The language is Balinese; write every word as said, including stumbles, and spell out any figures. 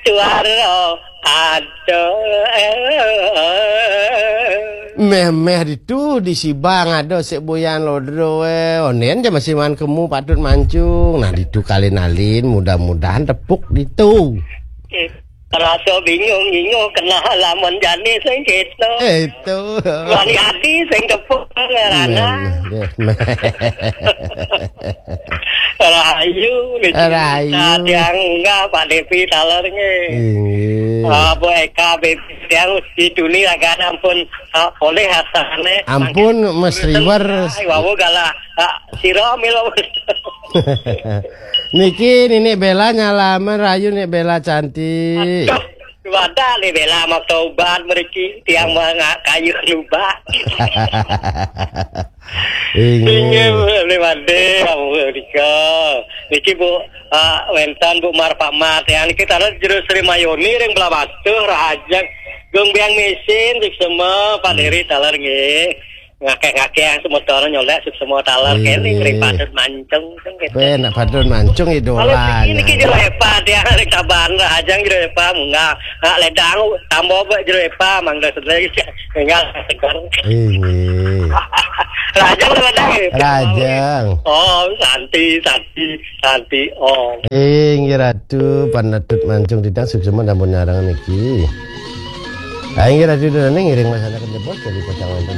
Suara ada. Meh-meh ditu di Sibang ada sik Boyan Lodro, eh. Onen ja masih man kemu patut mancung. Nah, ditu kalin-alin, mudah-mudahan tepuk ditu. Eh, rasa bingung-bingung kena lamun jani sing gitu. Eh, itu. Wani ati sing tepuk ngarana. Meh, meh, meh. Rahayu, Rahayu. Tiang enggak, Pak Devi taler nggih. Inggih. Ah, Bu Eka, Bebi, tiang dituni ragan ampun, ah, oleh hasane. Ampun, Mas Riwer. Ai, wau galah, ah, sira mila. Niki Nini Bella nyalaman rayu, Nini Bella cantik. Aduh, wadah nih Bella makta ubat mriki, tiang mangak kayu lubak. Inggih. Inggih, Bu, Bli Made, ampun, nika. Niki, Bu, ah, wénten, Bu, Marpamat. Yang niki taler Jero Sri Mayoni ring Blabatuh, Rahajeng. Gung Biang Misin, suksema, Pak Deri taler nggih. Ngakeh-ngakeh semeton nyolek, suksema taler. Inggih. Kene ring Patut Mancung, sing gitu. Weh, nak Patut Mancung idola. Kalau niki, niki Jero Epa, tiang ring Tabanan, Rahajeng Jero Epa, munggah. Nak ledang, tambah, Bu, Jero Epa, mangga sedaya. Tinggal segar. Inggih. Rahajeng, Rahajeng, ya? Rahajeng. Oh, santi, santi, santi, oh. Inggih Ratu, Patut Mancung titang suksema sampun nyarengin niki. Ah, inggih Ratu, dene ngiring masyarakat jebos dari Pocang Wonten